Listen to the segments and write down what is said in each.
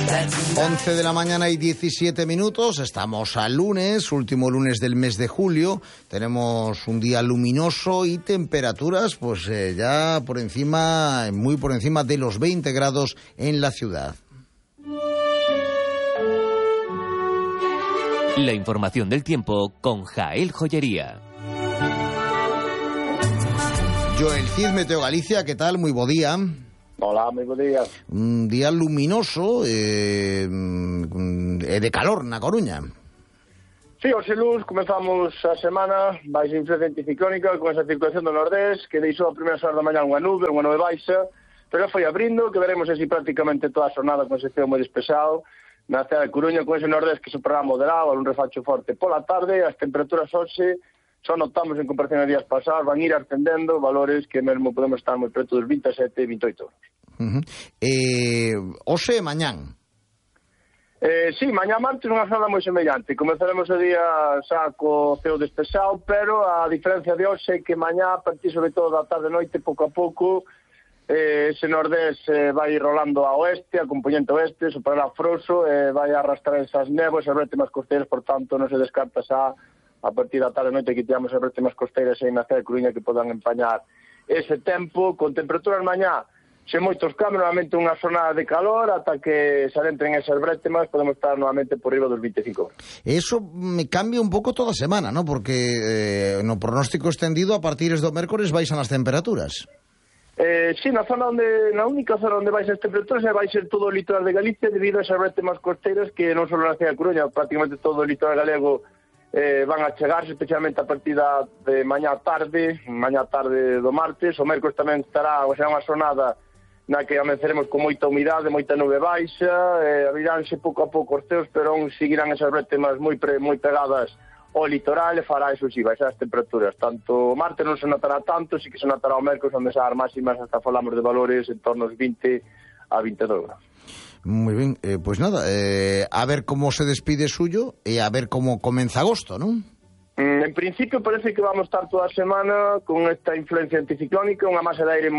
11 de la mañana y 17 minutos, estamos al lunes, último lunes del mes de julio, tenemos un día luminoso y temperaturas pues ya por encima, muy por encima de los 20 grados en la ciudad. La información del tiempo con Jael Joyería. Joel Cid, Meteo Galicia, ¿qué tal? Muy buen día. Hola, moi bo día. Un día luminoso de calor na Coruña. Sí, hoxe luz, comezamos a semana baixa influencia anticiclónica con esa circulación do nordés que deixou a primeira hora da mañá unha nube baixa, pero foi abrindo, que veremos así prácticamente toda a xornada con ese ceo moi despexado na cidade de Coruña con ese nordés que se progra moderado, un refacho forte pola tarde, as temperaturas hoxe só notamos en comparación a días pasados, van ir ascendendo valores que mesmo podemos estar moi preto dos 27 e 28 euros. Hoxe e mañán? Sí, mañá martes unha jornada moi semellante. Comezaremos o día xa co ceo despexado, pero a diferencia de hoxe é que mañá, a partir sobre todo da tarde e noite, pouco a pouco, ese nordés vai rolando a oeste, a componente oeste, superará froso, vai arrastrar esas néboas e bretemas costeiras, por tanto, non se descarta xa a partir da tarde e noite que tiramos as bretemas costeiras aí na cidade de Coruña que podan empañar ese tempo, con temperaturas mañá sen moitos cambios, novamente unha zona de calor ata que se adentren esas bretemas podemos estar novamente por riba dos 25 grados. Eso me cambia un pouco toda a semana, ¿no? Porque no pronóstico extendido a partir do mércores baixan as temperaturas. Sí, na única zona onde baixan as temperaturas vai ser todo o litoral de Galicia debido a esas bretemas costeiras que non só na cidade de Coruña, prácticamente todo o litoral galego van a chegarse, especialmente a partir de mañá tarde do martes. O mércores tamén será unha xornada na que amenceremos con moita humidade, moita nube baixa, abriránse pouco a pouco os ceos, pero seguirán esas bretemas moi pegadas ao litoral e fará eso si, baixar as temperaturas. Tanto o martes non se notará tanto, si que se notará o mércores onde xa as máximas hasta falamos de valores en torno aos 20 a 22 grados. Muy bien, pues nada, a ver como se despide suyo e a ver como comeza agosto, ¿non? En principio parece que vamos estar toda a semana con esta influencia anticiclónica, unha masa de aire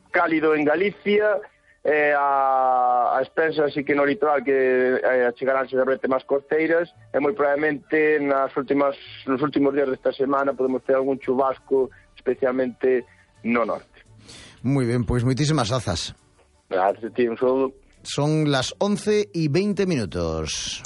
cálido en Galicia, a expensa así que no litoral que achegaránse as bretemas costeiras e moi probablemente nos últimos días desta semana podemos ter algún chubasco, especialmente no norte. Muy bien, pues moitísimas grazas. Gracias, tío, un saludo. Son las 11 y 20 minutos.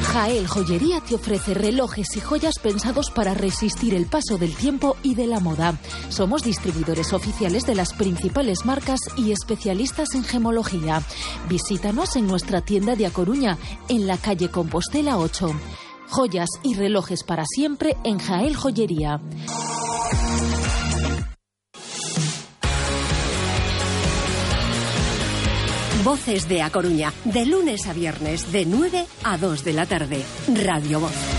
Jael Joyería te ofrece relojes y joyas pensados para resistir el paso del tiempo y de la moda. Somos distribuidores oficiales de las principales marcas y especialistas en gemología. Visítanos en nuestra tienda de A Coruña, en la calle Compostela 8. Joyas y relojes para siempre en Jael Joyería. Voces de A Coruña, de lunes a viernes, de 9 a 2 de la tarde. Radio Voz.